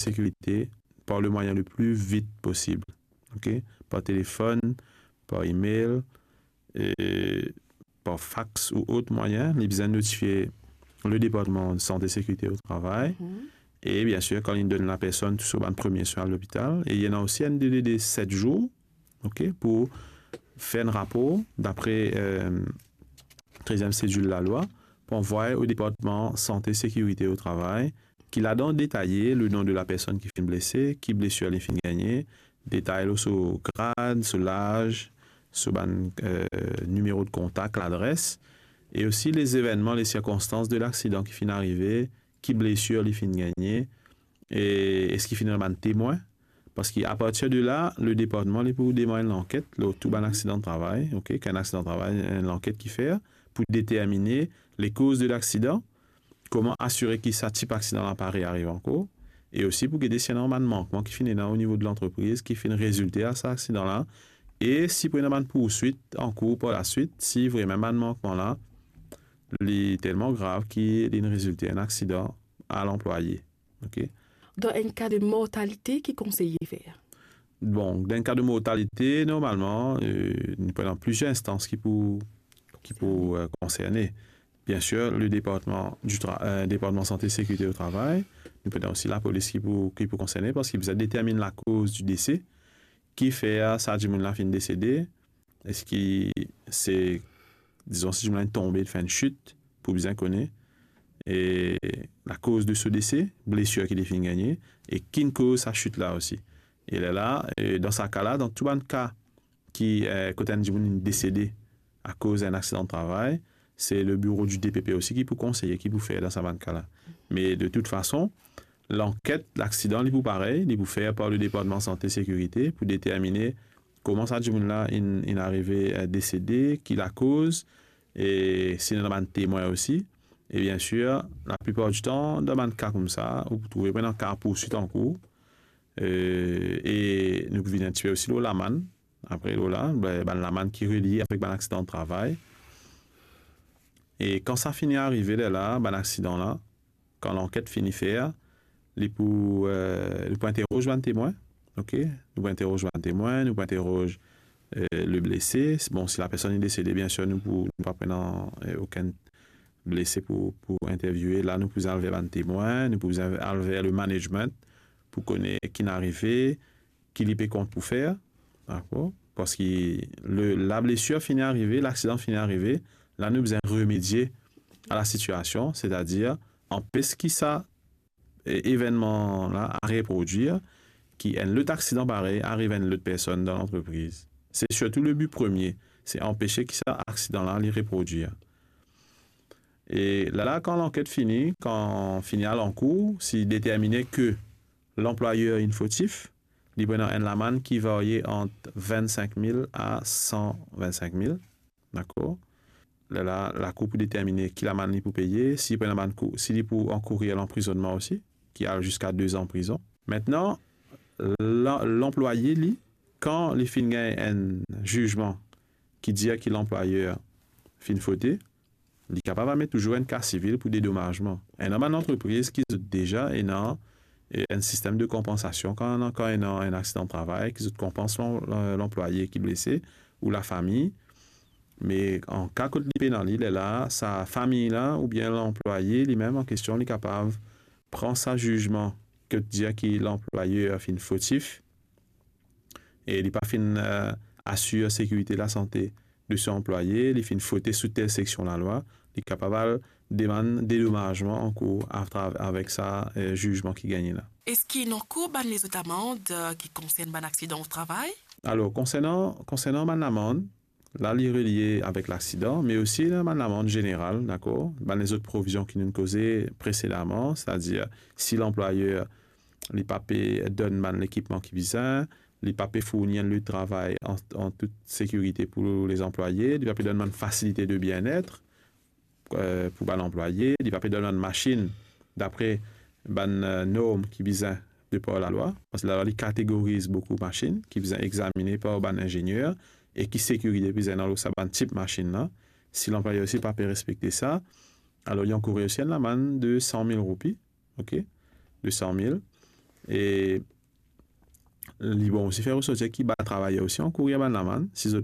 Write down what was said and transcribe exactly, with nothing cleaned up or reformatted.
sécurité par le moyen le plus vite possible. Ok? Par téléphone, par email, e par fax ou autre moyen, li bizin notifie le département de santé sécurité au travail. Mhm. E bien sir, kan li donn lapersonn tou so bann premie swin a lopital, e li ena osi enn dele de set zour, ok, pou fer enn rapor dapre, euh, treziem sedil lalwa, pou anvwaye o département santé sécurité au travail, ki ladan detaye le nom de lapersonn ki finn blese, ki blesir li finn gagne, detay lor so grad, so laz, so bann, euh, nimero de kontak, ladres, e osi lezevennman, lesirkonstans de laksidan ki finn arive, ki blesir li finn gagne, e eski finn ena bann temwin. Parski apartir de la, le département li pou demar enn lanket lor tou bann aksidan travay, ok, kan enn aksidan travay, enn lanket ki fer pou determine lekoz de laksidan, kouma asire ki sa tip aksidan la pa reariv ankor, e osi pou gete si ena bann mankman ki finn ena o nivo de lantrepriz ki finn rezilte a sa aksidan la, e si pou ena bann pourswit ankour par laswit, si vremem bann mankman la, li telman grav ki linn rezilte enn aksidan a lanplwaye. Ok? Dan enn ka de mortalite, ki konseye fer? Bon, dan enn ka de mortalite, normalman, euh, nou pou ena plizier instans ki pou, ki pou, euh, konserne. Bien sir, le département du tra-, euh, département santé sécurité au travail, nou pou ena osi lapolis ki pou, ki pou konserne, parski bizin determine lakoz du dese, ki fer sa dimoun la finn desede, eski se, dizon, si dimoun la tonbe, fer enn sit, pou bizin kone, e lakoz de so dese, blesir ki li finn gagne, e ki koz sa sit la osi. E lerla, e dan sa ka la, dan tou bann ka ki, eh, kot enn dimoun inn desede akoz enn aksidan travay, se le bureau du D P P osi ki pou konseye, ki pou fer dan sa bann ka la. Me de tout fason, lanket laksidan, li pou parey, li pou fer par le département santé sécurité pou determine kouma sa dimoun la inn, inn arive, eh, desede, ki lakoz, e si ena bann temwin osi. E bien sir, laplipar ditan, dan bann ka koumsa, ou pou trouve pou ena ka pourswit ankour. Eh, e nou pou vini enn tipe osi lor lamann, apre lor la, be-, bann lamann ki relie avek bann aksidan travay. E kan sa fini arive lerla, bann aksidan la, kan lanket fini fer, li pou, eh, nou pou interoz bann temwin, ok? Nou pou interoz bann temwin, nou pou interoz, eh, le blese. Bon, si lapersonn li desede, bien sir, nou pou, nou pa pou ena, eh, okenn blese pou, pou interviewe. La, nou pou al ver bann temwin, nou pou al ver le management pou kone ki inn arive, ki li pe kont pou fer, dakor? Parski le, lablesir fini arive, laksidan fini arive, la nou bizin remedie a lasitiasion, setadir anpes ki sa, e, evennman la a reprodwir, ki enn lot aksidan parey ariv enn lot personn dan lantrepriz. Se sirtou le bi premie, se anpese ki sa aksidan la li reprodwir. E la, la, kan lanket fini, kan fini al ankour, si determine ke lanplwayer inn fotif, li pou ena enn lamann ki varye ant vennsenk mil a san vennsenk mil, dakor? Lerla, lakour pou determine ki lamann li pou peye, si li pou ena bann kou-, si li pou ankourir lanprizonnman osi, ki al ziska de zan prizon. Mintnan, la-, lanplwaye li, kan li finn gagn enn zizman ki dir ki lanplwayer finn fote, li kapav al met touzour enn ka sivil pou dedomazman. Ena bann lantrepriz ki zot deza ena, e, enn sistem de konpansasion kan, kan ena enn aksidan travay, ki zot konpans lan-, lan-, lanplwaye ki blese ou lafami. Me an ka kot li pena li, lerla, sa fami la oubien lanplwaye limem an kestion, li kapav pran sa zizman kot dir ki lanplwayer finn fotif, e li pa finn, eh, asir sekirite lasante de so anplwaye, li finn fote sou tel seksion lalwa, li kapav al demann dedomazman ankour atrav-, avek sa, eh, zizman ki gagne la. Eski ena ankor bann lezot amand, eh, ki konsern bann aksidan o travay? Alor, konsernan, konsernan bann lamand, la, li relie avek laksidan, me osi ena bann lamand zeneral, dakor? Bann lezot provizion ki nou'nn koze presedaman, setadir si lanplwayer, li pa pe donn bann lekipman ki bizin, li pa pe fourni enn lieu de travay an, an tout sekirite pou lezanplwaye, li pa pe donn bann fasilite de bienet, eh, pou bann anplwaye, li pa pe donn bann masinn dapre bann, eh, norm ki bizin de par lalwa, parski lalwa li kategoriz boukou masinn ki bizin examine par bann inzenier e ki sekirite bizin ena lor sa bann tip masinn la. Si lanplwayer osi pa pe respekte sa, alor li ankour osi enn lamann de san mil roupi, ok, de san mil. E li bon osi fer resorti ki bann travayer osi ankour bann lamann, si zot